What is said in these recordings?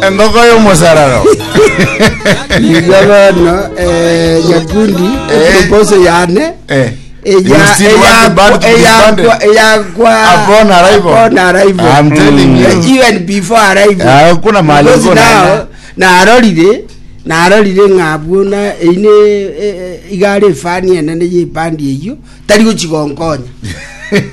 Engoko y'omosararo. Igo bono eh, nyakundi Eh. proposal yane Eh. eya You still want the band to be disbanded? eyakwa Upon arrival. upon arrival I'm telling you. Eh, even before arrival Ah, hakuna mahali Because ulikuwa now unaenda. narorire narorire ng'a abwo na eine igare efani enene y'ebandi eyio tari gochigonkonya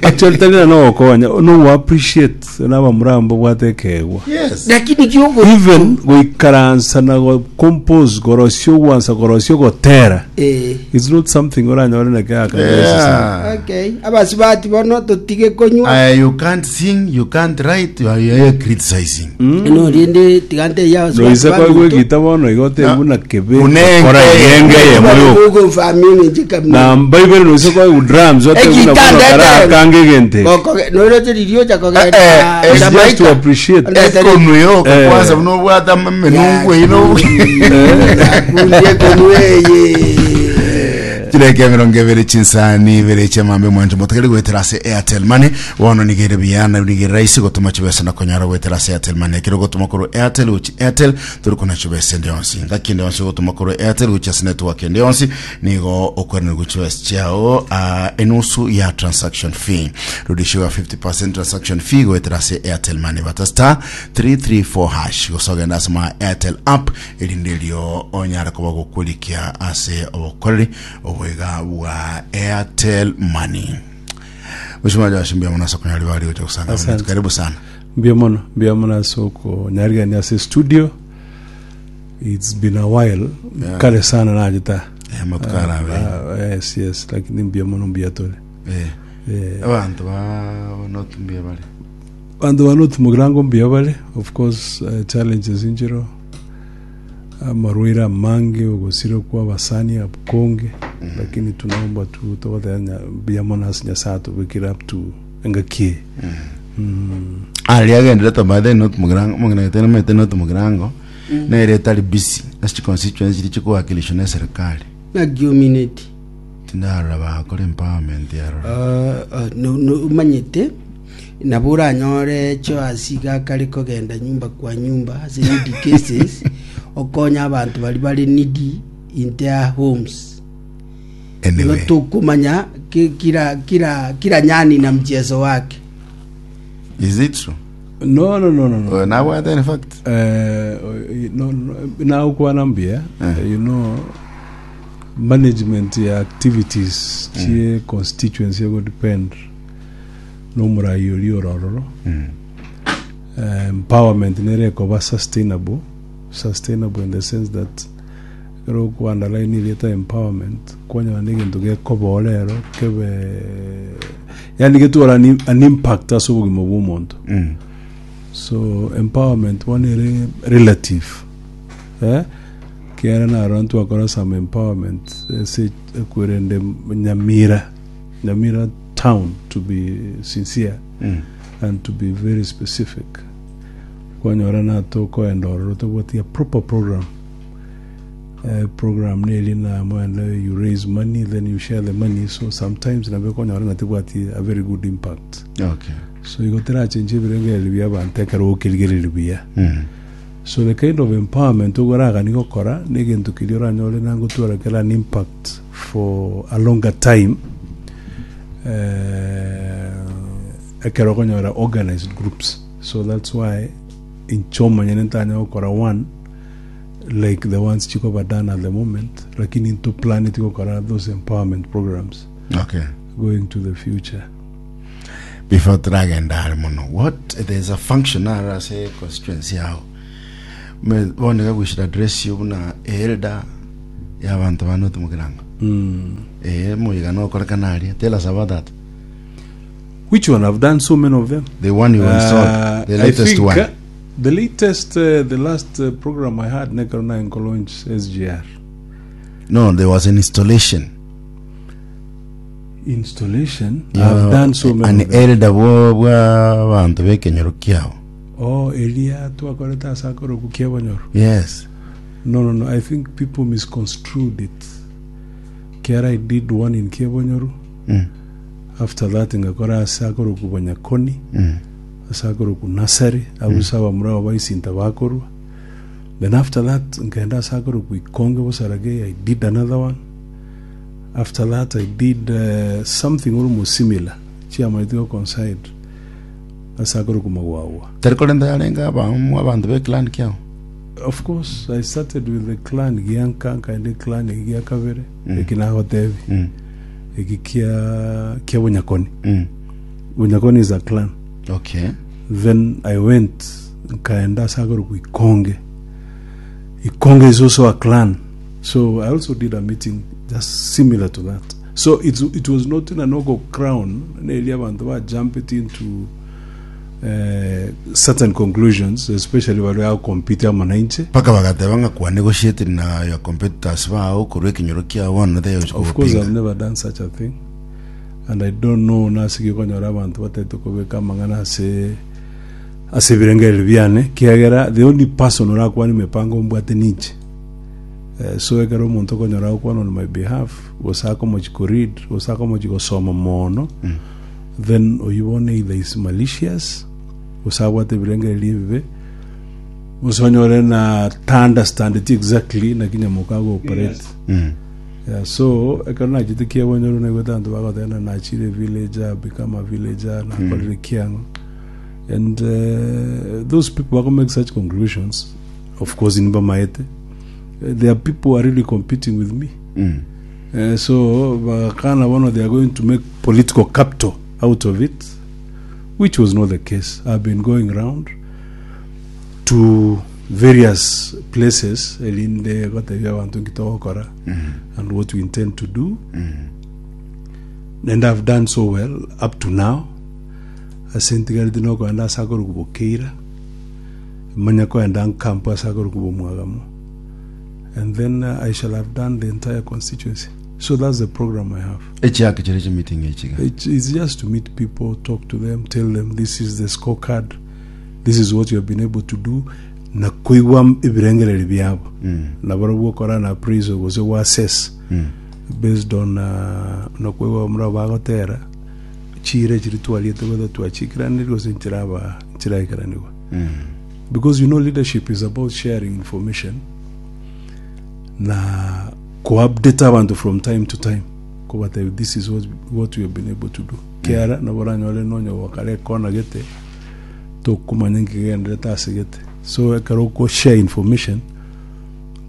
Actually tari na nogokonya no appreciate nabamura abo mbabwate ekeegwa. Yes. Lakini kiogo Even goikaransa na go compose korosia ogwansa korosia ogotera eh it's not something oranyore na kera kabisa. Yeah. okay abasubati bono totige konywa Uh, you can't sing, you can't write, you are, you are criticizing. no rende tiga nteiyo abasubati Noise kwaigwa baminto. egita bono igo otebu na kebe Unenge. kora yenge eyemo yoka. Ogonfamia eng'encho ekamina. Na mbaibere noise kwaigwa drums otebu na Egita bono ndete. kara akange egente. Gokoge- noroche riria ocha kogenda Eh, eh, It's just to Jamaica. appreciate. Ndete- Ekonu yoka Eh. kwanza bunobwata menungu ino. Yakundi ekonu eye. Chireke emerongo ebere chinsani ibere chiamambe mwancho motakeri goetera ase Airtel Money bono nigere buya na nigere rahisi gotoma chibesa na konyora goetera ase Airtel Money ekero gotoma korwa Airtel gochi Airtel tori kona chibesa ende yonsi ngaki ende yonsi gotoma korwa Airtel gochi ase network ende yonsi nigo okwenerwa chibesa chiao ah, enusu ya transaction fee rudishiwa 50% transaction fee goetera ase Airtel Money bata star 334 hash gose ogenda ase ma Airtel app erinde erio onyare koba gokorikia ase obokoreri oboiga bwa Airtel Money. Mheshimiwa Joash mbuya mono ase okonyora ribaga rigocha gosanga Asante. abana. Karibu sana. Mbuya mono, mbuya mono ase okonyarigania ase studio. It's been a while. Yeah. Kare sana nachete. Eh, amatuko arabe. Ah, yes, yes, lakini mbuya mono mbuya tore. Eh. Eh, Abanto ba North mbuya bare. Abanto ba North Mugirango mbuya bare, of course eh, challenges inchiro amarwaire amange ogosira kwa abasani akonge lakini tunaomba tu togoteba nya- mbuya mono ase Nyasaye atobekire up to engaki eye. Aria agenderete by the North Mugirango mong'ina gete nomanyete North Mugirango nere etari busy ase chiconstituency chiria chikowakilishwa na eserikali. Naki omineti. Tindarora bagakora empowerment yarora. Ah, ah, no- no- omanyete nabo oranyore Joasi iga akare kogenda nyumba kwa nyumba ase needy cases okonya abanto baria bare needy in their homes igo Anyway. tokomanya ki- kila kila kila nyani na mchezo wake Is it true? No, no, no, no, no. Oh, nabwate in fact. Eh, no, no, nagokwana mbuya Eh. you know management ya activities chie constituency ego depend nomorai oria ore ororo Eh, empowerment nere ekoba sustainable sustainable in the sense that ekero okwa underline erieta empowerment kwanyora na egento gekoba ore ero kebe yaani getware an, an impact ase obogima bwa omonto so empowerment bono ere relative eh? Kiagera narora ntwakora some empowerment ase ekwerende Nyamira, Nyamira town to be sincere and to be very specific. Kwanyora natokoenda ororo tobwati a proper program. Eh, program neri na moende you raise money then you share the money so sometimes nabo okonyora ng'a tebwati a very good impact. Okay. So igo terachenche ebirengererio bia abanto ekero okerigereria buya. So the kind of empowerment ogoragani gokora negento keria oranyore na ngotwara kere an impact for a longer time eh, ekero okonyora organized groups so that's why inche omonyene ntanya gokora one like the ones chikoba done at the moment lakini nto planeti gokora those empowerment programs Okay. going to the future Before toragenda are mono, what there's a function are ase constituency yao. Me bono iga we should address you buna elder ya abanto ba North Mugirango. Eh moiga nokorekana aria. Tell us about that. which one i've done so many of them The one you installed, the I latest think, one. the latest, the last program I had, nekero na launch SGR No, there was an installation. installation. Yeah, I've done so many. An of them. elder bwo bwa abanto b'ekenyoro kiao. Oh, eria twakorete ase akoroku kiabonyoro. Yes. No, no, no. I think people misconstrued it. Kiara I did one in Kiabonyoru. After that ngakora ase akoroku Bonyakoni. Ase akoroku Nasari. Abwo ase abamura abo baisinta bakorwa. Then after that nkaenda ase akorokwa Ikonge Bosaragei, I did another one. After that I did uh, something almost similar chiamanyete go coincide ase akorokwa Magwagwa. Tari korenta yarenge abamu abanto be clan kiao. Of course I started with the clan gianka nkaenda eclan egi gia kabere eki nagotebi eki kia kia Bonyakoni. Bonyakoni is a clan. Okay. Then I went nkaenda ase akorokwa Ikonge. Ikonge is also a clan. So I also did a meeting just similar to that. So it's, it was not in an ogo crown neri abantu ba jump it into eh, certain conclusions especially bari compete amo nainche. Mpaka bagateba ng'a kwa negotiating na your competitors bao korwa ekenyoro kiao bono they Of course I've never done such a thing and I don't know nasiki okonyora abanto batagete kobeka amang'ana ase ase ebirengererio biane kiagera the only person orakwane emepango mbwate ninche. Eh, so ekero omonto okonyora agokwana on my behalf gose akomochi ko read gose akomochi gosoma mono then oyio bono either is malicious gose abwate ebirengererio ebibe gose onyore na ta understandeti exactly naki nyamoka ago operate Yeah, so ekero nachete kiabonyoru naigwete abanto bagoteba ng'a nachire villager become a villager nakorire kiang'o and uh, those people bako make such conclusions of course nibamaete Eh, there are people who are really competing with me Eh, so bagakana bono they are going to make political capital out of it which was not the case i've been going round to various places erinde gotebia abanto nki togokora and what we intend to do and i've done so well up to now ase ntigareti nokoenda ase akorokwa bokeira manya koenda nkampu ase akorokwa bomwagamo and then i shall have done the entire constituency so that's the program i have Echiake chire chimeeting echiga. It's just to meet people, talk to them, tell them this is the scorecard, this is what you have been able to do, na koigwa ebirengererio biabo. Na barobwo okora na appraisal gose gwa assess based on uh, na koigwa mura bagotera chire chiri twariete whether twachikiraniri gose nchiraba nchiraikeranigwa. Because you know leadership is about sharing information na ko-update abanto from time to time kobatebia this is what, what we have been able to do kiara nabo oranyore nonya gwakare ekona gete tokomanya nki kegenderete ase gete so ekero oko share information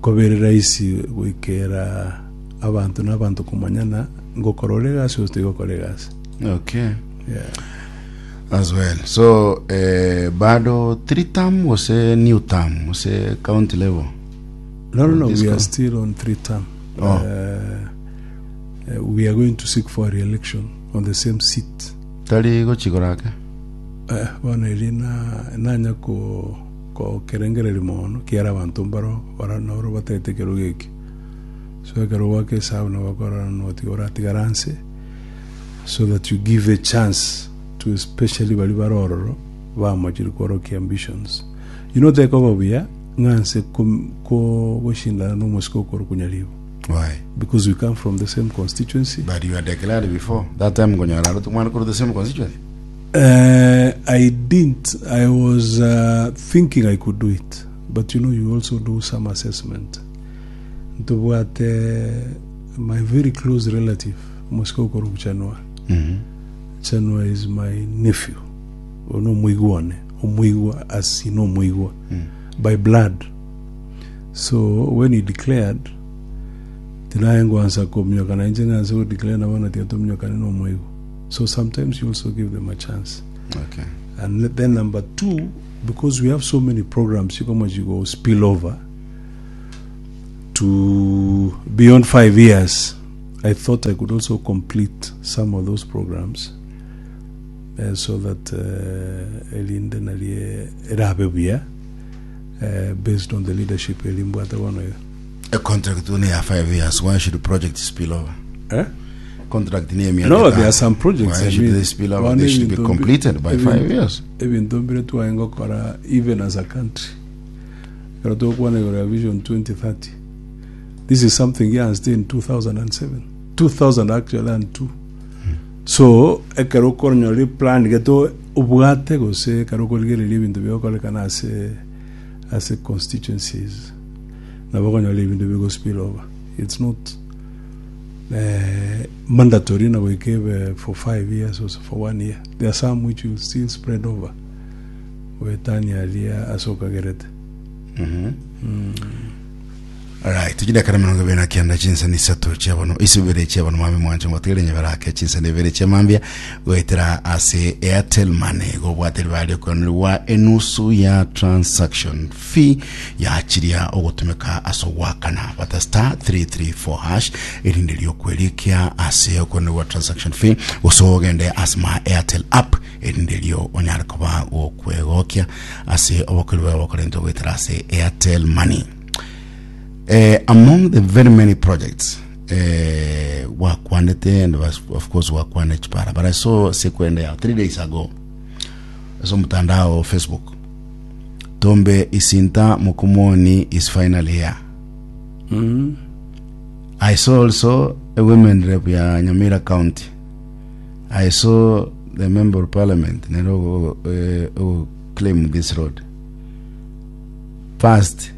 kobere rahisi goikera abanto na abanto komanyana ngokora ore egasi gose tigokora egasi Okay. yeah. As well. So eh, bado three term gose new term gose county level. No, no, no. This We are co- still on three term. Oh. We are going to seek for re-election on the same seat. Tari gochigorake. Eh, bono eri na nanya ko ko kerengereri mono kiara abanto mbaro bara noro batagete ekerogo eke so ekero gwaka esabu nabo bakorora notiga oratigara nse so that you give a chance to especially baria bare ororo bamochire kworokia ambitions you know tekoba buya ng'a nse ko- ko- goshindana na omosike okorokwa Nyaribo Why? because we come from the same constituency But you had declared before. That time ngonyora aro tumwana kuri the same constituency. I didn't. I was thinking I could do it, but you know, you also do some assessment. Ntobwate my very close relative, omosike okorokwa Chanua. Chanua is my nephew. Oyo nomoigwa one, omoigwa as in omoigwa by blood. So when he declared, tinaye ngwansa kominyoka na inche ng'anse go declare nabo na tiga tominyokane na omoigwa. So sometimes you also give them a chance. Okay. And then number two, because we have so many programs, you come you go spill over to beyond 5 years. I thought I could also complete some of those programs so that erinde narie erabe buya based on the leadership erimbwate bono iga. A contract only ya 5 years. Why should the project spill over? Eh? Contract ni ya No, there are some projects. Why I should mean, they spill over? one They should be ebinto mbi- completed by 5 years. Ebinto mbire twaye gokora even as a country ekero togokwana igoro ya vision 2030 this is something yaanzete in 2007 2000 actually and 2 so ekero okonyora eplan gete obwate gose ekero okorigereria ebinto bigokorekana ase Ase constituencies nabo okonyora ebinto bigo spill over. It's not mandatory na goika ebe for 5 years or for one year. There are some which will still spread over goetania aria ase okagerete. Alright, chidakika 29 chinsa ni isato chiabono isibere chiabono mami mwancho ngotigere nyeberake chinsa ni ibere chia mambia goetera ase Airtel Money gobwate ribari okonerwa enusu ya transaction fee yachiria ogotumeka ase ogwakana bata star 334 hash erinde riokwerikia ase okonerwa transaction fee gose ogende ase ma Airtel app erinde rio onyare koba gokwegokia ase obokori bwawe bokorentwa goetera ase Airtel Money. Among the very many projects gwakwanete and was, of course gwakwana chipara but I saw sekwende ya 3 days ago ase omotandao Facebook Tombe Isinta Mukumoni is finally here. I saw also a women rep ya Nyamira County. I saw the member of parliament nero claim this road. Past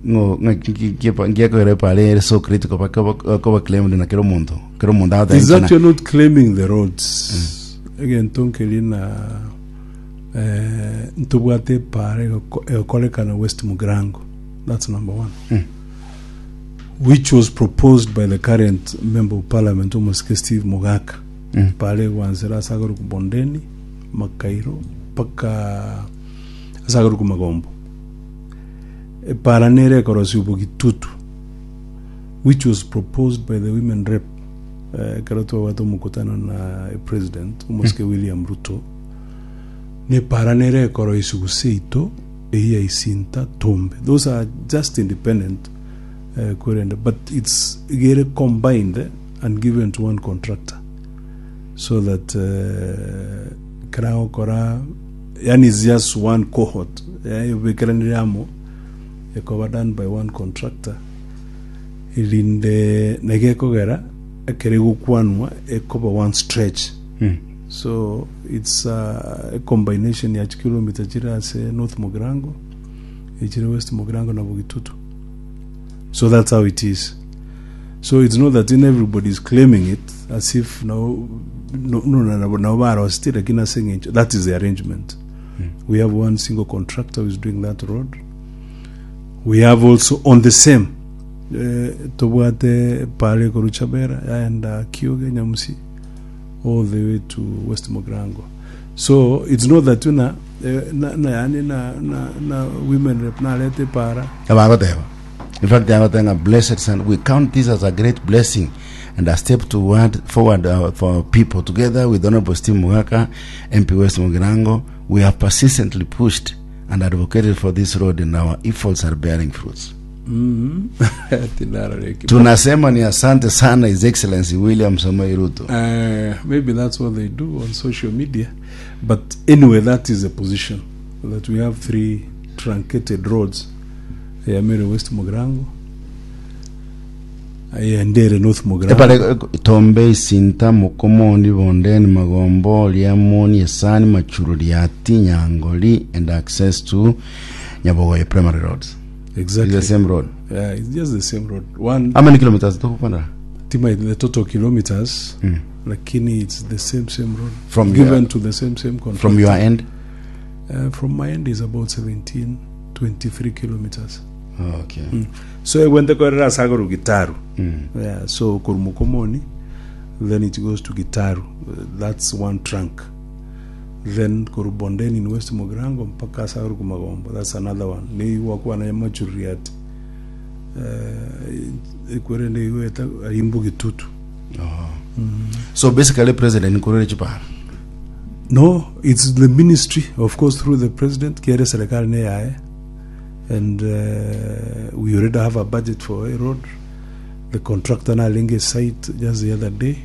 ng'o ngiakoira epara ere so critical bakoba claimed na kera omonto kera omonto Is agotenchana that you're not claiming the roads egento nkeri na ntobwate epara egokorekana West Mugirango that's number one which was proposed by the current member of parliament omosike Steve Mogaka epara egwansera ase akorokwa Bondeni Makairo mpaka ase akorokwa Magombo epara nere ekorosia obogitutu which was proposed by the women rep ekero twabwate omokutano na president omosike William Ruto nepara nere ekoroisia gose ito eyia Isinta Tombe those are just independent korende but it's igere combined and given to one contractor so that ekero agokora yani it's just one cohort ebekeranire amo ekoba done by one contractor erinde naki ekogera ekero egokwanwa ekoba one stretch so it's a combination ya chikilomita chire ase North Mugirango echire West Mugirango na Bogitutu so that's how it is so it's not that in everybody is claiming it as if no no no no no barosete lakini ase eng'encho that is the arrangement we have one single contractor who is doing that road we have also on the same tobwate pare korwa Chabera yaenda Kioge Nyamusi all the way to West Mugirango so it's not that na na, na yani na, na, na women rep narete para. Abagoteba in fact agoteba ng'a blessed son we count this as a great blessing and a step toward forward for our people together with Honorable Steve Mugaka MP West Mugirango we have persistently pushed and advocated for this road and our efforts are bearing fruits. Tinarareki. Tunasema ni asante sana His Excellency William Samoei Ruto. Maybe that's what they do on social media. But anyway, that is the position that we have three truncated roads. Ya Mary West Mugirango, ya Ndere North Mugirango. Epare Tombe Isinta Mukomoni Bondeni Magombo Liamoni Esani Machuru Riati Nyangoli and access to Nyabogoye Primary Roads. Exactly. It's the same road. Yeah, it's just the same road. One How many kilometers tukupanda? tima the total kilometers, lakini it's the same road. From given your- to the same contractor. From your end? From my end is about 17, 23 kilometers. Okay. So egwente korera ase agoru Gitaru. Yeah, so koru Mukomoni, then it goes to Gitaru. That's one trunk. Then koru Bondeni in West Mugirango mpaka ase agoru Magombo. That's another one. Ni wakuwa na Machuriati. Ekwerende igweta arimbu Gitutu. So basically president nkurere chipara. No, it's the ministry, of course, through the president, kere serikali ne yaye. And we already have a budget for a road. The contractor narenge site just the other day.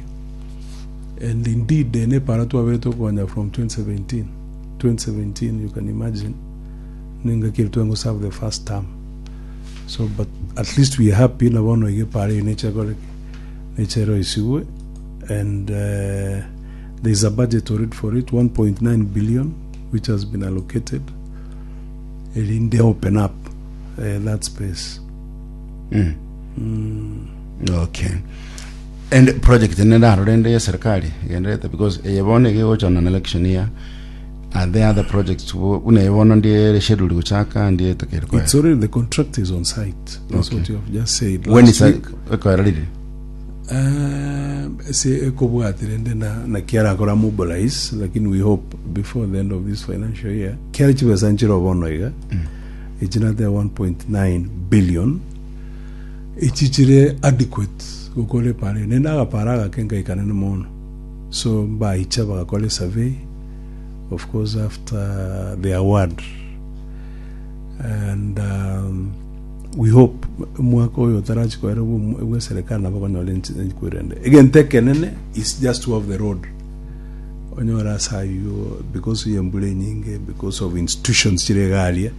And indeed, ne para twabere tokonya from 2017. 2017, you can imagine. Ninga kiri twengo serve the first term. So, but at least we are happy na bono ige pare nature gore nature isiwe and there is a budget already for it 1.9 billion which has been allocated. Erinde open up eh, that space. Okay. And project ene ndarora ende ya serikali egenderete because eye bono ege gocha on an election year. Are there other projects buna eye bono ndiere schedule gochaka ndiye etakeire koera? It's already the contract is on site. That's Okay. what you have just said. When Last is that week, ekoera riri? ase ekobwatire ende na na kiarakora mobilize lakini we hope before the end of this financial year kiare chibesa nchire bono iga echi nate 1.9 billion echi chire adequate gokora epara eye nende agapara agake nkaikanene mono so mbaicha bagakora esurvey of course after the award and we hope omwaka oyo otarachi koera bwa bwa eserekari nabo okonyora enchi enkwero ende. Egento ekenene is just to have the road. Onyore ase aywo because ya embura enyinge, because of institutions chire iga aria,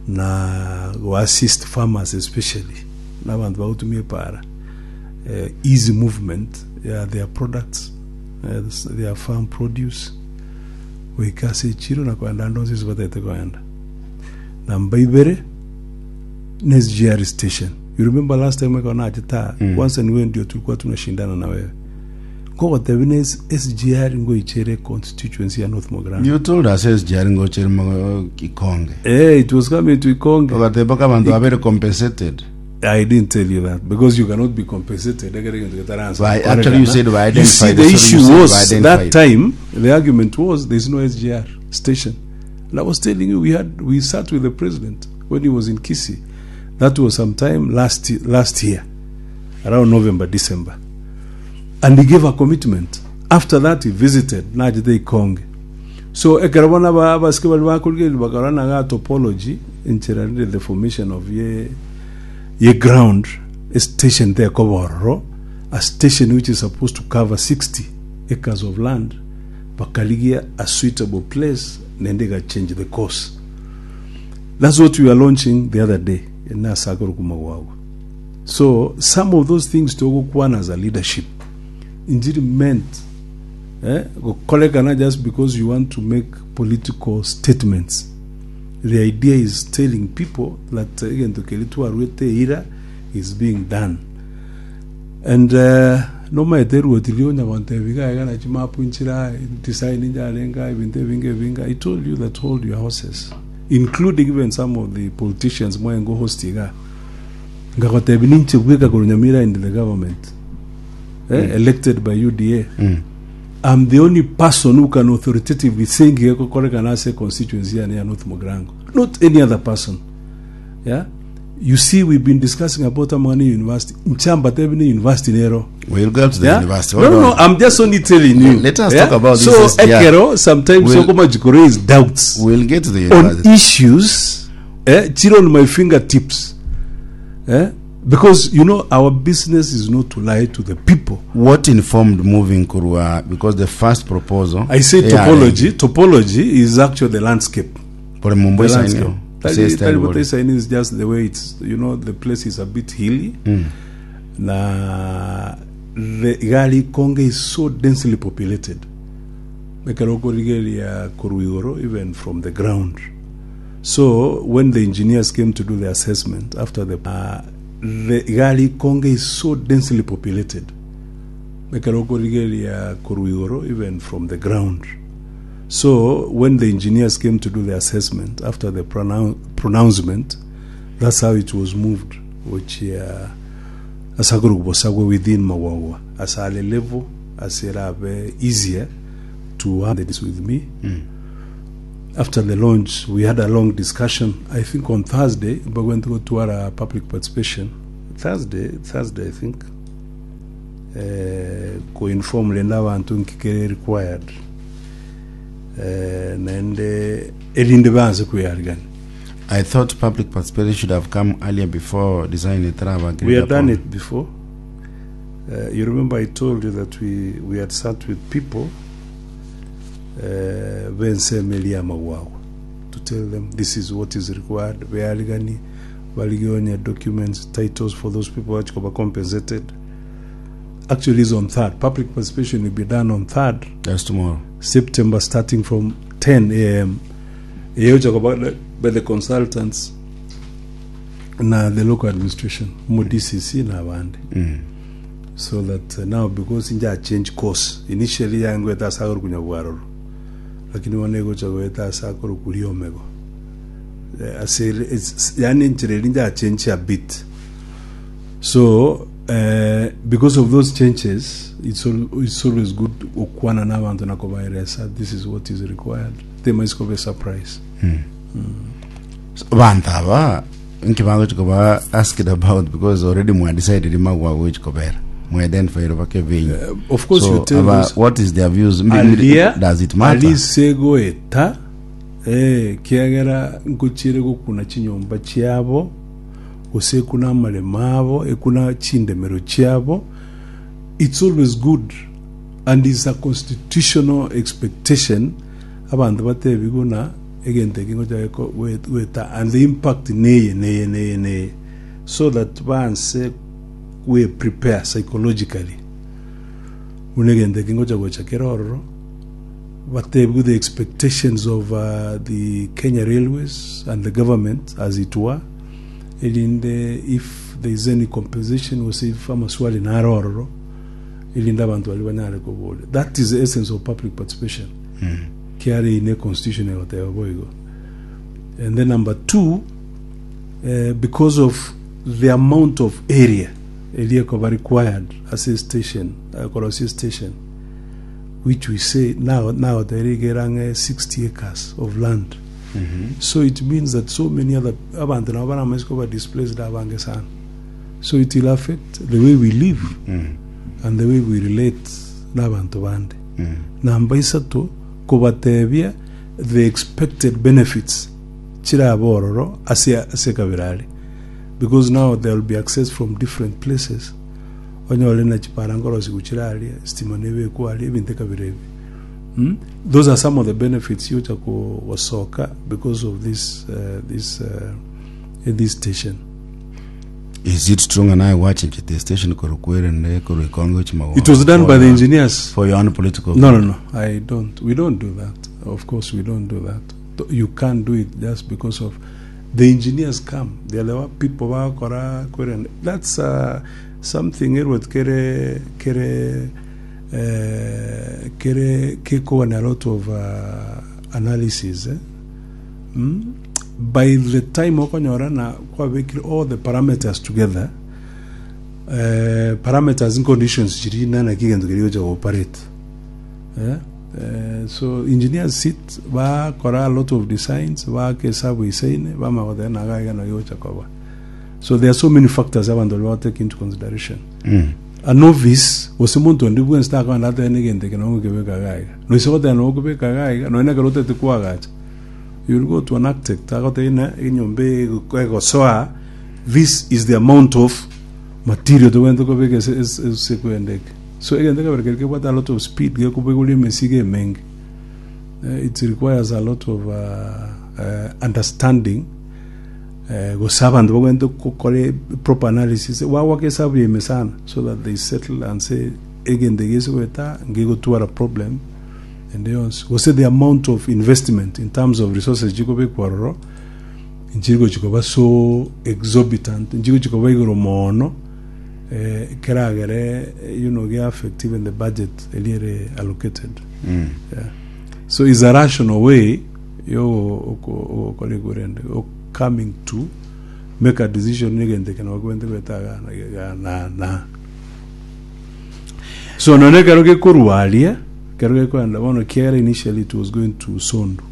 na go assist farmers especially, na abanto bagotumia epara, eh, easy movement ya their products, eh, their farm produce, goika ase echiro na koenda ande onsi ase batagete koenda. Namba ibere, ne SGR station. You remember last time ekero nachete aa, kwanza niwe ndio tulikuwa tunashindana na wewe. Nkogotebia ne SGR ngoichere constituency ya North Mogrango. You told us SGR ngochere mo Ikonge. Eh, it was coming to Ikonge. Ogateba mpaka abanto babere compensated. I didn't tell you that because you cannot be compensated. Ekere egento getaransa By- actually you said by You see, identified. the Sorry, you issue said by was that identified. time the argument was there is no SGR station. And I was telling you we had we sat with the president when he was in Kisii. That was sometime last last year, around November, December. And he gave a commitment. After that he visited nachete Ikonge. So ekero bono aba- abasike baria bakorigereria bakarora naga topology enchera rende the formation of ye ye ground a station tekoba ororo a station which is supposed to cover 60 acres of land bakarigia a suitable place naende ega change the course that's what we are launching the other day ene ase akorokwa magwagwa so some of those things togokwana as a leadership injiri meant eh, gokorekana just because you want to make political statements the idea is telling people that egento keria twarwete eira is being done And nomaete eruoti riria onya gontebia iga iga na chimapu nchire aa, design njarenge aa, ebinto ebinge ebinge, I told you that hold your horses, including even some of the politicians mwaye host iga. Nkagotebia ninche bweka korwa Nyamira in the government, eh, elected by UDA. I'm the only person who can authoritatively say ngiga gokorekana ase constituency yane ya North Mugirango, not any other person. Yeah? You see, we've been discussing about Amani University. Nchamba Tebini University nero. We'll go to the Yeah? university. No, Hold no, no, on. I'm just only telling you. Let us yeah? talk about this So, SGR. Ekero, sometimes We'll- Sokoma Jikore is doubts We'll get to the on university. issues, eh, chiri on my fingertips. Eh? Because, you know, our business is not to lie to the people. What informed moving Kurwa? Because the first proposal. I say Yeah, topology. Topology is actually the landscape. Pore Mumbai The sign landscape. yo. Tari- Say style Tari body. Bote sign is just the way it's, you know, the place is a bit hilly. Na the Igali Konge is so densely populated. Ekero okorigereria korwa igoro, even from the ground. So when the engineers came to do the assessment after the the Igali Konge is so densely populated. Ekero okorigereria korwa igoro, even from the ground. So when the engineers came to do the assessment after the pronouncement, that's how it was moved, which ase akorokwa bosagwe within Magwagwa ase are level ase erabe easier to have this with me. After the launch, we had a long discussion. I think on Thursday, we're going to go to our public participation. Thursday, Thursday, I think. Eh, ko-inform rende abanto nki kere required. Eh, naende erinde banse kweyarigania. I thought public participation should have come earlier before design etaraba agreed We had done upon. it before. You remember I told you that we, we had sat with people uh, b'ensemo eria y'amagwagwa to tell them this is what is required beariganie barigie onye documents titles for those people bachi koba compensated actually is on third public participation will be done on third That's tomorrow. September starting from 10 a.m. Eyocha koba by the consultants na the local administration omo DCC na abande so that now because inja change course initially yangoeta ase akorokwa Nyabwaroro lakini bono egocha goeta ase akorokwa Riomego Eh, ase ere- it's- yaani enchera eria inja change a bit so eh, because of those changes it's, al, it's always good okwana na abanto na kobaeresa this is what is required temaisi koba surprise Banto aba inki bagochi koba asked about because already mwa decided magwa gochi kobera. Mwa identify bake venye. Of course So you tell aba, those- what is their views? Mbi- Alia Does it matter? alise goeta eh, kiagera nkochiere gokuna chinyomba chiabo gose ekuna amaremo abo ekuna chindemero chiabo it's always good and is a constitutional expectation abanto batebigwe ng'a egento eke ngocha geko- goe- goeta and the impact neye neye neye neye so that banse gwe prepare psychologically buna egento eke ngocha gocha kere ororo batebigwe the expectations of the Kenya Railways and the government as it were erinde if there is any compensation gose if amaswali nare ororo erinde abanto baria banyare koboria that is the essence of public participation kiare ine constitution egoteba boigo and then number two eh, because of the amount of area eria ekoba required ase station eh, korosia station which we say now now there igera ang'e 60 acres of land so it means that so many other abanto nabo baramaisi koba displaced abange sana so it will affect the way we live and the way we relate n'abanto bande namba isato kobatebia the expected benefits chirabe ororo ase ase ekabira aria because now there will be access from different places onyore na chipara nkorosigwa chire aria estima nebekwa aria ebinto ekabira ebi mm? Those are some of the benefits yocha ko- gosoka because of this uh, this uh, this station. Is it true ng'a naye gwachenchete station korwa kwerende korwa ikonge gochia magoro? It was done For by the your- engineers. For your own political No, no, no. I don't. We don't do that. Of course, we don't do that. You can't do it just because of the engineers come. They are the one people bakora kwerende. That's something erwet kere kere eh, kere kekogania a lot of analysis eh? Mm? By the time okonyora na kwabekire all the parameters together eh, parameters and conditions chiri nana ki egento keria gocha gooperate eh? Eh, so engineers sit bakora a lot of designs baaka esabu isaine bamanya goteba naga iga naki gocha koba so there are so many factors abanto baria bagotake into consideration a novice gose monto onde bwensi takogenda atebe na egento eke nabo ngokebeka iga iga noise goteba nabo okobeka iga iga nonya ekero otagete koagacha you will go to an architect agotebie ng'a enyomba eye egosoa this is the amount of material tobwenerete kobeka ase ase ase ekwenda eke. So egento ekebere keria kebwate a lot of speed gekobogoria emesigo emenge eh, it requires a lot of understanding eh, gose abanto bagwenerete gokora proper analysis bagwaka esabu ya ime sana so that they settle and say egento eke gese goeta ngegotwara problem ende yonsi gose the amount of investment in terms of resources chikobekwa ororo nchiri gochi koba so exorbitant nchiri gochi koba igoro mono eh, keragere eh, you know ge affect even the budget eria ere allocated yeah. So is a rational way yo ogokora igorende o coming to make a decision negento eke nabo kobwate goeta iga na iga na na so nonye ekero gekorwa aria ekero gekoenda bono kiagera initially it was going to Sondu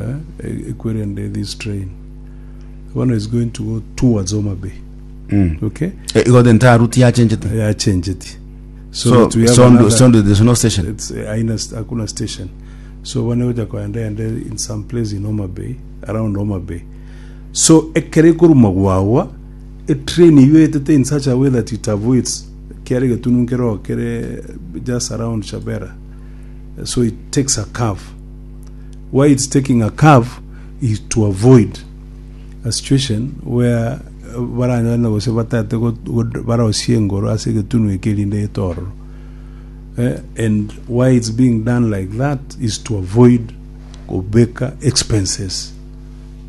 eh, ekwerende this train bono is going to go towards Homa Bay okay Eh, igo the entire route yachenchete yachenjeti so, so that we have Sondu, another- Sondu there's no station it's haina hakuna station so bono egocha koenda ende in some place in Homa Bay around Homa Bay so ekere ekoruma gwagwa etrain eywo etete in such a way that it avoids kiare egetunu nkero kere just around Chabera so it takes a curve why it's taking a curve is to avoid a situation where baranyore na gose batagete barosie engoro ase egetunu eke erinde gete ororo. Eh, and why it's being done like that is to avoid Kobeka expenses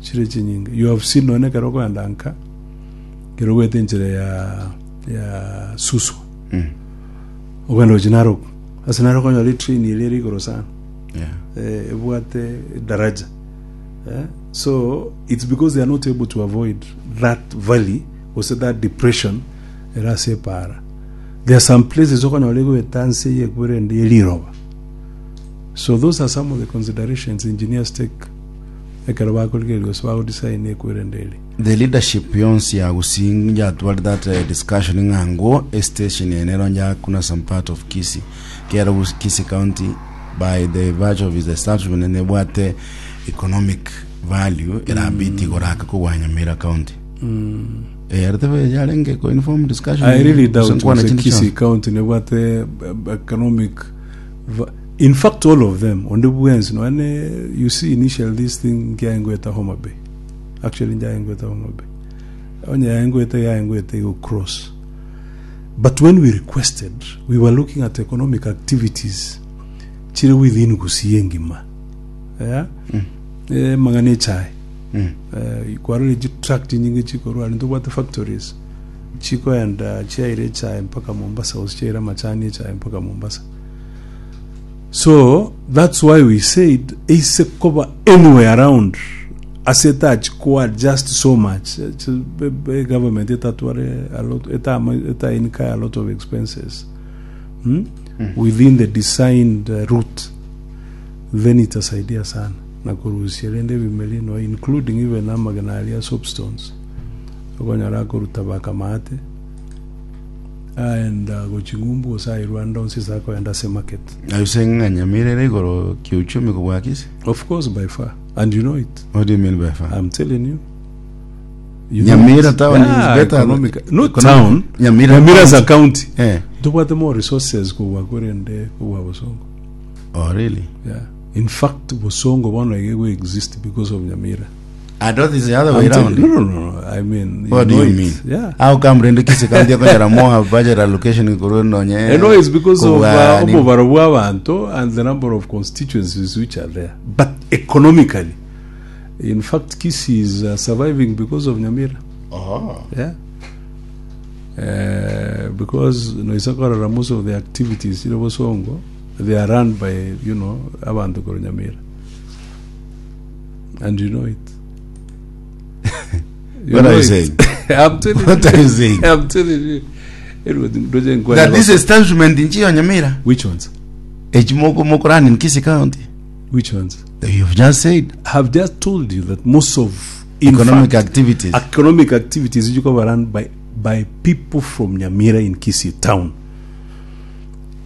chire chinyinge. You have seen nonye ekero okoenda nka, ekero ogoeta enchera ya ya Suswa, okogenda gochia Narok, ase Narok okonyora etrain eria ere igoro sana, Yeah. eh, ebwate daraja eh? So it's because they are not able to avoid that valley gose that depression ere ase epaara. There are some places okonyora egoeta nse yekwere ende ye riroba. So those are some of the considerations engineers take ekero bakorigereria gose bagodesign ekwerende eri. The leadership yonsi ya Gusii yatware that eh, discussion ng'a ngo estation eye nero yakuna some part of Kisii kero Gus- Kisii County by the virtue of its establishment nebwate economic value erabiti igoro ake kogwa Nyamira County. Eh, aritebe yarenge ko inform discussion. I really doubt Gose nkwana gose chinde Kisii chionsi. County nebwate economic va- in fact all of them onde bwensi nonye you see initial this thing nkiaengoeta Homa Bay actually njaengoeta Homa Bay onye yaengoeta yaengoeta igo cross but when we requested we were looking at economic activities chire within Gusii engima yeah? eh, mang'ana echae eh, kwarora chitruck chinyinge chikorwa aria ntobwate factories chikoenda chiaire echae mpaka Mombasa gose chiaire amachani echae mpaka Mombasa so that's why we said eise koba anywhere around ase etachi ko adjust so much eh, chi- be- be- government etatware a lot etama eta incur a lot of expenses hmm? within the designed route then itasaidia sana na korusia rende ebimeri no including even amagena aria soapstones okonyora akoruta bakamaate aenda gochia ng'umbu gose aye Rwanda onsi ase akoenda ase market. Are you saying ng'a Nyamira ere igoro kiuchumi kobua Kisii? Of course by far and you know it. What do you mean by far? I'm telling you. You know Nyamira it. town is Yeah, better. economic- Not Economic- town. Nyamira Nyamira as a county. county. Eh. Tobwate more resources kobua korende kobua Bosongo. Oh, really? Yeah. In fact, Bosongo bono iga ego exist because of Nyamira. I thought it's the other way I'm telling- round. No, no, no, no. I mean, you What do know you it. mean? Yeah. How come rende Kisii County ekonyora more budget allocation korwa nonye I know it's because of kobua nini? obobaro bwa abanto and the number of constituencies which are there. But economically, in fact, Kisii is surviving because of Nyamira. Oh. Yeah. Because noisa korora most of the activities chire Bosongo, they are run by, you know, abanto korwa Nyamira. And you know it. You What are know you it. saying? I'm telling What you. are you saying? I'm telling you. Anyway, ndoche nkwani That this bako- establishment nchiyo Nyamira. Which ones? Echimoko mokorani in Kisii County. Which ones? You've just said Have just told you that most of in economic fact, activities. economic activities which were run by by people from Nyamira in Kisii town.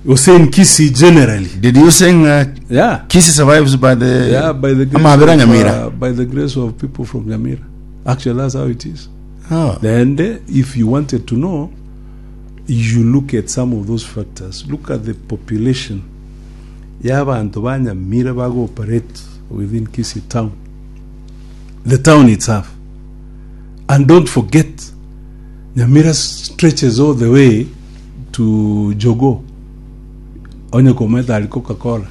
You say in Kisii generally. Did you sing Yeah. Kisii survives by the Yeah, by the grace Ama Abera of, Nyamira. by the grace of people from Nyamira. Actually, that's how it is. Oh. Then, if you wanted to know, you look at some of those factors. Look at the population. Y'abantu ba Nyamira bago operate within Kisii town. The town itself. And don't forget, Nyamira stretches all the way to Jogo. Onye kometa ali Coca-Cola.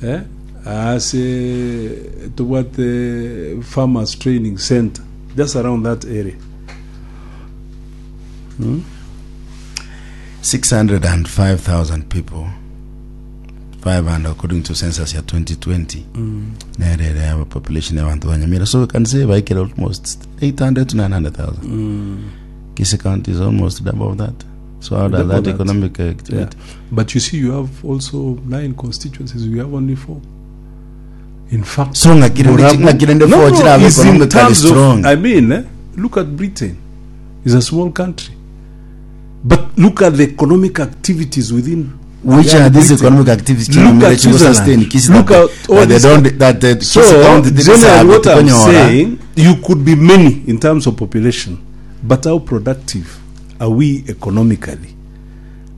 Eh? Ase tobwate Farmers Training Center just around that area. 605,000 people 500 according to census ya 2020 nere ere aba population y'abantu ba Nyamira so we can say baikire almost 800 to 900,000 Kisii County is almost double of that so how does Double that that. economic activity Yeah. But you see, you have also nine constituencies. We have only four. In fact, So ng'akire ndi- Borabu- ng'akire ndi No, four no, chirabe it's in economically terms of- strong. I mean, look at Britain. It's a small country. But look at the economic activities within. which yeah, are these Britain. economic activities Look Nyamira at chigo Switzerland. sustain Kisii Look that, at all that they these- don't that the So, Kisii County generally, what I'm tikonyora. saying, you could be many in terms of population, but how productive are we economically?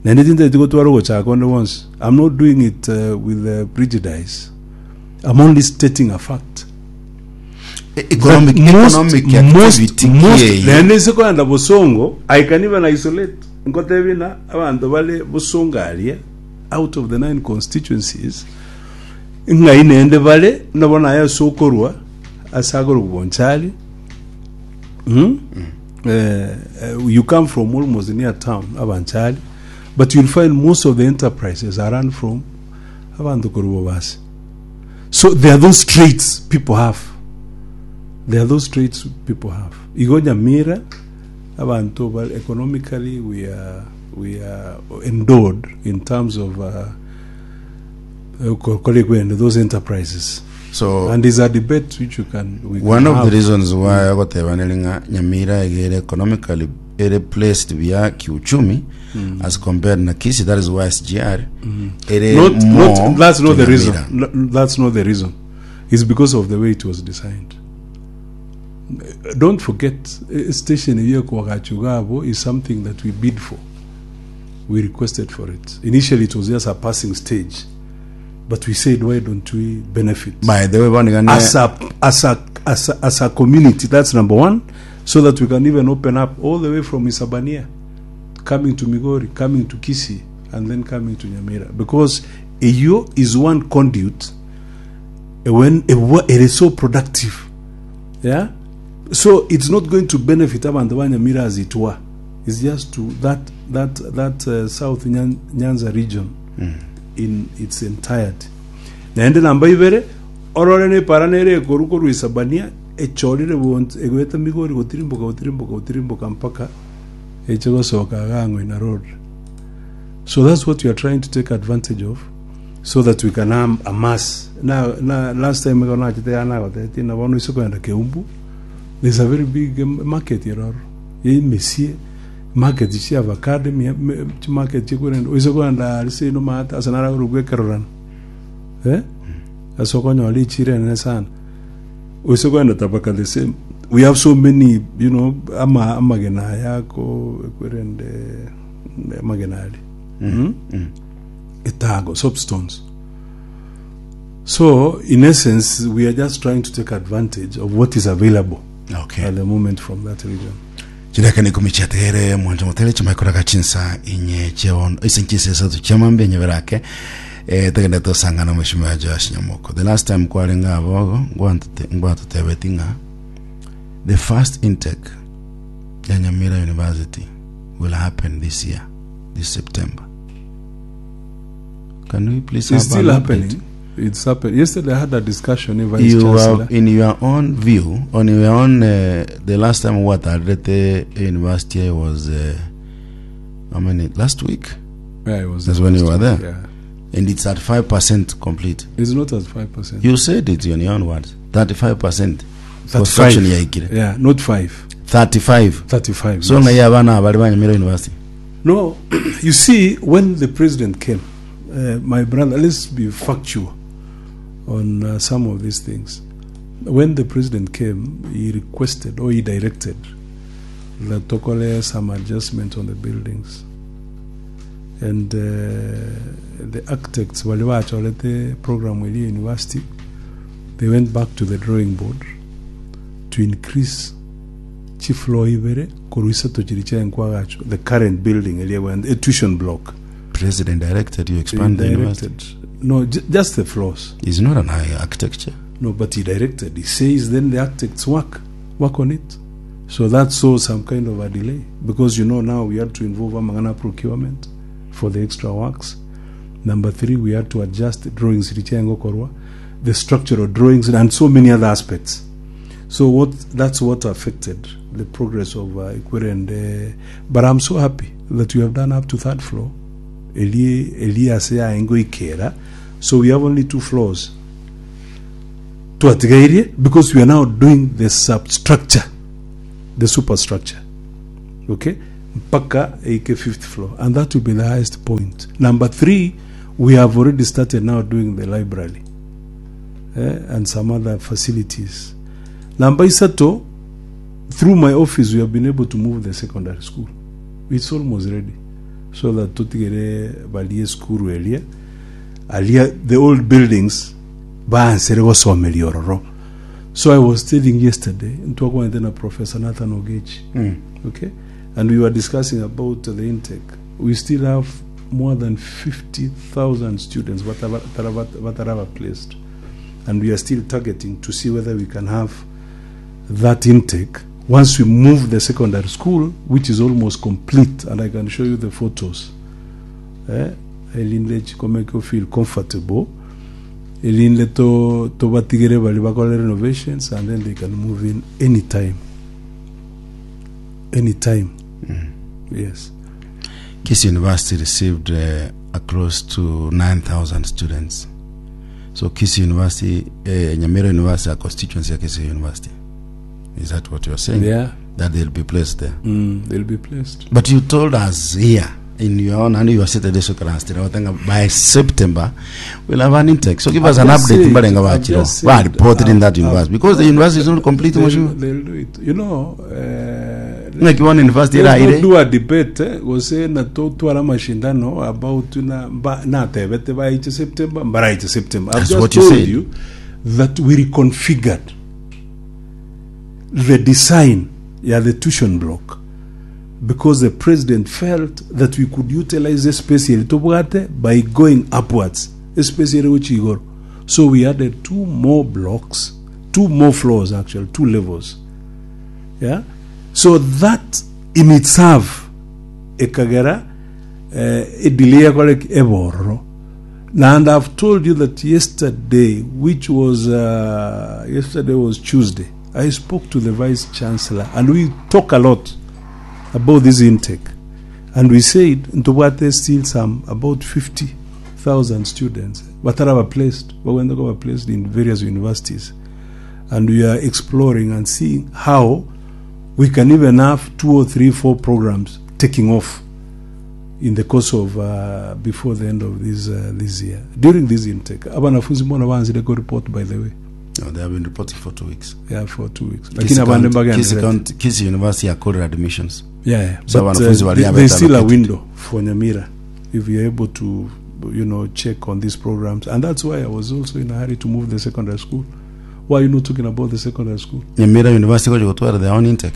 Naende tintageti gotwara ogochaka onde bonsi. I'm not doing it with prejudice. I'm only stating a fact. economic That most- economic most- activity most- kieye. naende ase kogenda bosongo i can even isolate nkotebi na abanto bare bosongo aria out of the nine constituencies. Ng'ai naende bare nabo naye ase okorwa ase akorokwa Bonchari mm? Eh, eh, you come from almost near town Abanchari but you'll find most of the enterprises are run from abanto korwa Bobasi so there are those traits people have there are those traits people have igo Nyamira abanto bare economically we are, we are endowed in terms of uh, Gokora egwendo those enterprises So and is a debate which you can we one can of the have. reasons why agoteba neri ng'a Nyamira iga ere economically ere placed buya kiuchumi as compared na Kisii that is why SGR ere not, more not that's not to the reason Nyamira. No, that's not the reason it's because of the way it was designed don't forget eh, station eyo ekoagachuga abo is something that we bid for we requested for it initially it was just a passing stage but we said why don't we benefit By the way bono iga ne as a as a as a, as a community that's number one so that we can even open up all the way from Isabania coming to Migori coming to Kisii and then coming to Nyamira because eyo is one conduit eh, when eh, it is so productive yeah so it's not going to benefit abantu ba Nyamira as it were It's just to that that that uh, South Nyan, Nyanza region in its entirety. Naende namba ibere orore nepara nere ekoru korwa Isabania echorire bonsi egoeta Migori gotirimboka gotirimboka gotirimboka mpaka eche gosoka iga Ng'oina Road. So that's what we are trying to take advantage of so that we can am, amass. Na, na last time igo nachete iga nagotetie na bono ise kogenda Keumbu there's a very big um, market eroro. Emesie, market chia avocado, emi- me- chimarket chikorenda oise kogenda aria seino maate ase naro akorokwa ekerorano eh? Ase okonyora echiro enene sana oise kogenda tabaka the same we have so many you know ama amagena aya ako ekwerende amagena aria mm? etago soapstones so in essence we are just trying to take advantage of what is available Okay. at the moment from that region. Chidaka ni ikumi chiatigere mwancho motere chimaikoraga chinsa inye chiabono ise chinsa isato chiamambe nyeberake eh tagenda tosangana mheshimiwa Joash Nyamoko the last time kwarenga abogo ngwantute ngwatutebeti ng'a the first intake ya Nyamira University will happen this year this September can we please It's have still an happening. update? It's happening. Yesterday I had a discussion with Vice you Chancellor. have in your own view on your own uh, the last time what I read the university was uh, how many last week yeah, it was That's there when you last were week, there. Yeah. and it's at 5% complete It's not at 5%. you said it in your own words 35% construction yaikire Yeah, not 5. 35 35. so yes. nga abana abali banyamira university No, you see, when the president came, uh, my brother, let's be factual on uh, some of these things. When the president came, he requested or he directed that Tokole some adjustment on the buildings. And uh, the architects, wale bachorete program with the university, they went back to the drawing board to increase chifloor ibere korwa isato chiria chiaye the current building eria egwente a tuition block president directed you He expand the university directed no just the floors is not an high architecture no but he directed he says then the architects work work on it so that saw some kind of a delay because you know now we had to involve amang'ana procurement for the extra works number three we had to adjust the drawings riria chiaye gokorwa the structural drawings and so many other aspects So what that's what affected the progress of uh, Ikwerende. But I'm so happy that we have done up to third floor. Eli Eli ase yaengo ikera. So we have only two floors. Twatigaire because we are now doing the substructure, the superstructure. Okay? Mpaka eike fifth floor. And that will be the highest point. Number three, we have already started now doing the library. eh, and some other facilities. Namba isato, through my office we have been able to move the secondary school. It's almost ready. So that totigere barie school eria aria the old buildings baansere gosomeria ororo. So I was telling yesterday, ntwakwanete na Professor Nathan Ogechi. Okay? And we were discussing about the intake. We still have more than 50,000 students bataba- taraba- bataraba placed and we are still targeting to see whether we can have that intake once we move the secondary school which is almost complete and I can show you the photos eh, erinde chikomeke o feel comfortable erinde to tobatigere bari bakore renovations and then they can move in anytime anytime yes Kisii University received uh, close to 9,000 students. So Kisii University, uh, Nyamira University, a constituency of Kisii University. Is that what you're saying? yeah That they'll be placed there. they'll be placed But you told us here in your own, and you are seated this class, by September we'll have an intake. So give us I've an just update. said- Mbalenga I've Wachiro. just Why said, reported in that I've- university? Because the university is not complete. they'll, Mheshimiwa. they'll do it you know uh, Like one university Let's ira not do a debate eh, gose na totwara mashindano about na mba natebete baiche September mbaraiche September. I've That's just what you told said. you that we reconfigured the design ya the tuition block because the president felt that we could utilize the space eri tobwate by going upwards space eri gochia igoro so we added two more blocks two more floors actually two levels yeah so that in itself ekagera eh, edelay yakore ki? Ebororo and i've told you that yesterday which was uh, yesterday was tuesday i spoke to the vice chancellor and we talk a lot about this intake and we said ntobwate still some about 50000 students bataraba placed bagwenda kuba placed in various universities and we are exploring and seeing how we can even have two or three, four programs taking off in the course of uh, before the end of this uh, this year during this intake. Abanafunzi mbona banzire go report by the way No, they have been reporting for two weeks. yeah for 2 weeks Kisii lakini abande County- Kisii mbagenderete County- Kisii University yakorera admissions. yeah, yeah. So but wanafunzi wali there's still a allocated. window for Nyamira if you're able to you know check on these programs and that's why I was also in a hurry to move the secondary school why are you not talking about the secondary school Nyamira University gochi gotwara their own intake.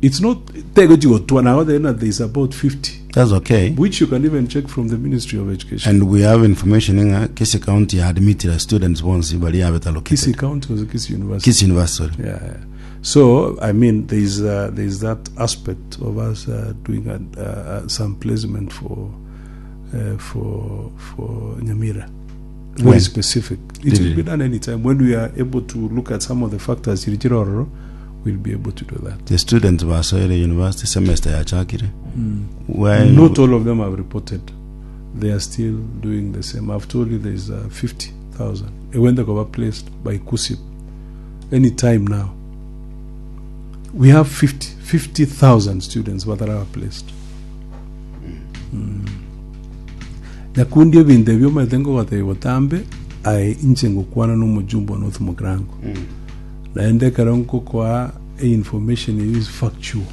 it's not tego chigotwa now then there's about 50 That's okay. which you can even check from the Ministry of Education. And we have information in uh, Kisii County admitted students once bali have it allocated. Kisii County was Kisii University. Kisii University. Sorry. Yeah, yeah. So I mean, there's there's that aspect of us doing a, some placement for for Nyamira. Very When? specific. It Did will it? be done anytime when we are able to look at some of the factors. Chirichirororo, We'll be able to do that. The students basoire university semester yachakire. Where Not all of them have reported. They are still doing the same. I've told you there's uh, 50,000. When they got placed by KUSIP, any time now. We have 50 50,000 students that are placed. Nyakundi ebinto ebio omanyete ngogotebi botambe aye inche ngokwana na omojumbe one North Mugrango naende ekero nkokoa information eyo is factual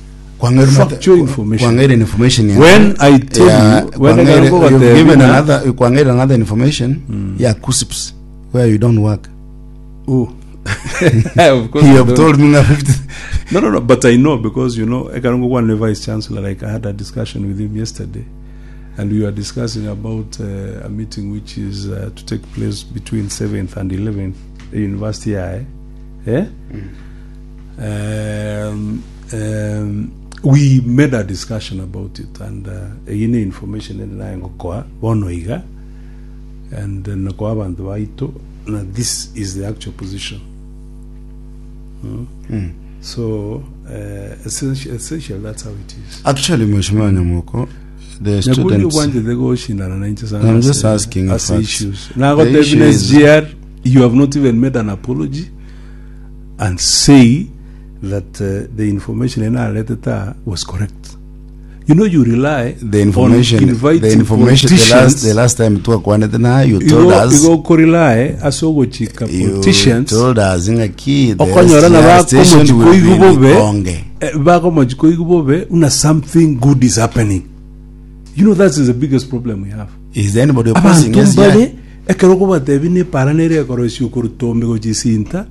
Factual information. Kwangere information ya When I tell yeah, you, when Kwangere, I go you've the given another Kwangere another information yeah KUSIPS where you don't work. Oh. of course You I have don't. told me nga 50 No, no, no. But I know because you know, Ekarongo one the vice chancellor. Like I had a discussion with him yesterday, and we were discussing about a meeting which is to take place between 7th and 11th, the university. I, eh? We made a discussion about it, and uh, information and nayengokoa bono iga, and nakoa abantu baito. Now this is the actual position. So essentially that's how it is. Actually, Mheshimiwa Nyamoko, the Nyakundi students ubwanjete goshindana na inche sana I'm ase- just asking ase facts. issues. Now The issue is- SGR, you have not even made an apology and say that the information in our letter was correct. You know, you rely the information on inviting the information the last politicians. the last time twakwanete na you told Igo- us igo korely ase ogochika you politicians told us ng'aki the okonyora na SGR station will be bakomochikoigu bobe Likonge. bakomochikoigu bobe una something good is happening. You know, that is the biggest problem we have. Is there anybody opposing Abanto SGR? mbare ekero okobatebi na epara nere ekorosia okorutombe gochisinta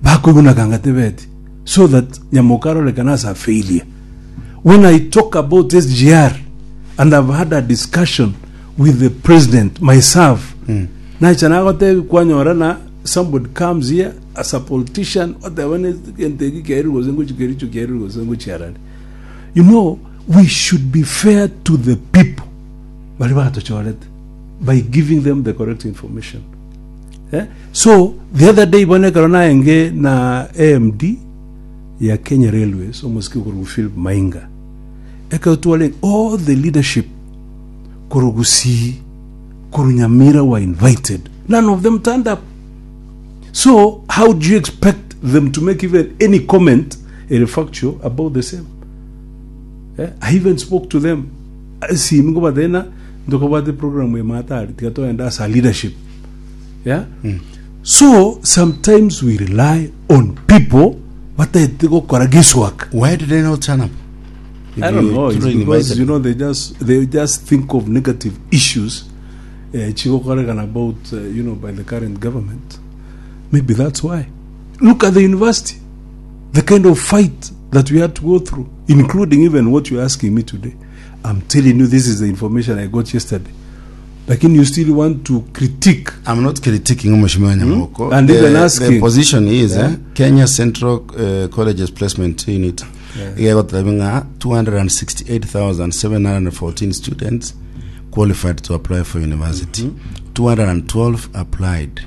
bakoiguna tebeti so that nyamoka arorekana as a failure. When I talk about SGR and I've had a discussion with the president myself nacha nagotebi kwanyora na somebody comes here as a politician oteba ne egento eki kiairwe gose ngochi kericho kiairwe gose ngochi arari you know we should be fair to the people baria batochorete by giving them the correct information eh? So the other day bono ekero naenge na AMD ya Kenya Railways omosike okorwa Philip Mainga ekero tware all the leadership korwa Gusii korwa Nyamira were invited none of them turned up so how do you expect them to make even any comment ere factual about the same eh? I even spoke to them esimi ngobatebia ntokabwate program ime atari tiga togende ase a leadership yeah? So sometimes we rely on people bataete gokora guesswork. Why did they not turn up? If I don't you know. It's truly because invited you know they just think of negative issues eh, chigokorekana about you know by the current government. Maybe that's why. Look at the university, the kind of fight that we had to go through, including even what you're asking me today. I'm telling you, this is the information I got yesterday. Lakini you still want to critique I'm not critiquing Mheshimiwa Nyamoko. And the, even the asking. position is Yeah. Kenya Central Colleges Placement Unit Yeah. igegoteba ng'a 268,714 students qualified to apply for university. 212 applied.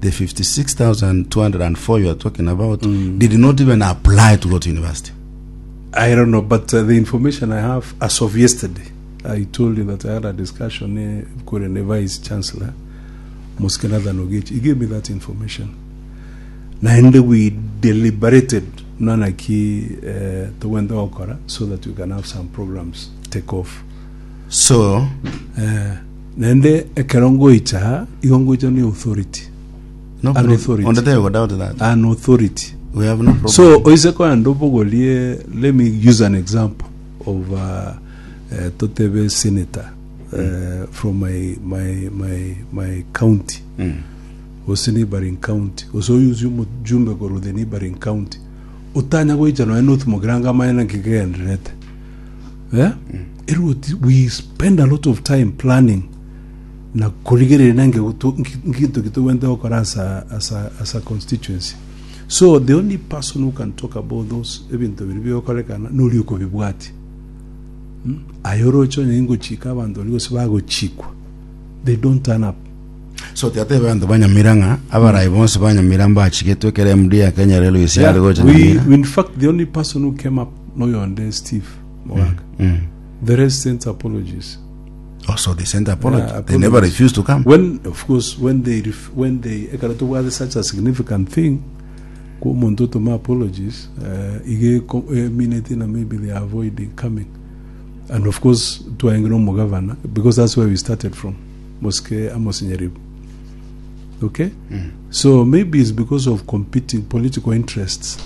The 56,204 you are talking about did not even apply to go to university. I don't know, but the information I have as of yesterday, I told you that I had a discussion eh, kore ne Vice Chancellor Mosque Nathan Ogechi. He gave me that information. Naende we deliberated nanaki eh, togwente gokora so that we can have some programs take off. So, Eh, naende ekero ngoicha igo ngoicha ni authority no An authority. On the table, doubt that. an authority We have no problem. So oise koenda obogorie let me use an example of uh, totebe senator from my, my, my, my county gose neighboring county gose oyusie omojumbe korwa the neighboring county otanya goicha nonya North Mugirango amanye naki kegendererete eh? Erwo we spend a lot of time planning na korigereria na nge nkinto ki togwente gokora as a, as a, as a constituency so the only person who can talk about those ebinto biri bigokorekana nori okobibwati mm? Aye oroche onye ingochika abanto baria gose bagochikwa they don't turn up So tiatebe abanto ba Nyamira ng'a abarai bonsi ba Nyamira mbachigetwe ekero MD ya Kenya Railways Yeah, yare gocha we, Nyamira. we in fact the only person who came up noyonde Steve Mogaka the rest sent apologies Oh, so they sent apology. Yeah, They never apologies. refused to come. When of course when they ref, when they ekero tobwate such a significant thing kwa omonto otoma apologies uh, ige ko- emineti na maybe they are avoiding coming and of course twaengire omogavana because that's where we started from Mosque Amos Nyaribo okay so maybe it's because of competing political interests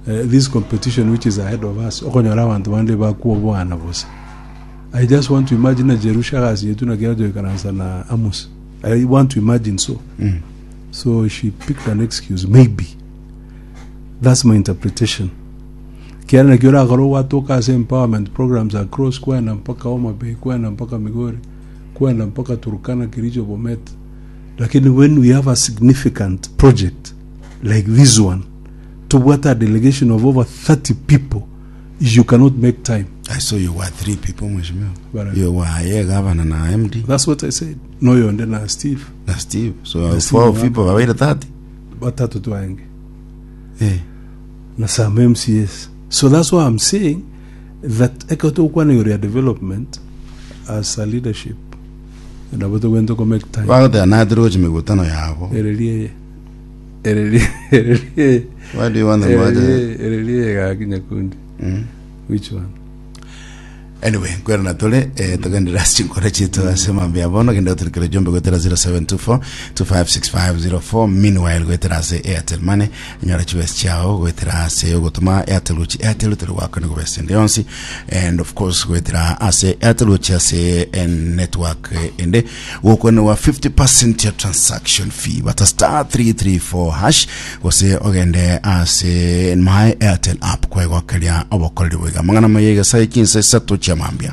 uh, this competition which is ahead of us okonyora abanto bande bakwobwana bosa I just want to imagine na Jerusha agasinyetwe na kera toikaransa na Amos. I want to imagine so. So she picked an excuse, maybe. That's my interpretation. Kiara nakio orakore gwatoka ase empowerment programs across kwenda mpaka Homa Bay, kwenda mpaka Migori, kwenda mpaka Turkana, Kericho, Bomet. Lakini when we have a significant project like this one, tobwate a delegation of over 30 people, you cannot make time. I saw you were three people mheshimiwa. Bara. You were ye governor na MD That's what I said. Noyonde na Steve. na Steve. So Na Steve four Mwaka. people babaire 30. Batatu twange. Eh. Na some MCS. So that's why I'm saying that ekero togokwana igoro ya development as a leadership nabo togwente ko make time. Bagoteba natire gochia migutano yabo. Ereria eye. Ereria ereria eye. Why do you want them Ereria to eye, ereria eye gaki nyakundi. Which one? Anyway, nkwerana tore eh, togenderera ase chinkoro chiaito ase mambia bono genda otorikere jumbe goetera 0724 256504 meanwhile goetera ase Airtel Money nyora chibesa chiao goetera ase ogotoma Airtel gochi Airtel tore gwakana gobesa ende yonsi and of course goetera ase Airtel gochi ase eh, network eh, ende gokwenerwa 50% ya transaction fee bata star 334 hash gose ogende ase my Airtel app kwegokeria obokoreri boiga amang'ana maya egesae chinsa isato chia mambia.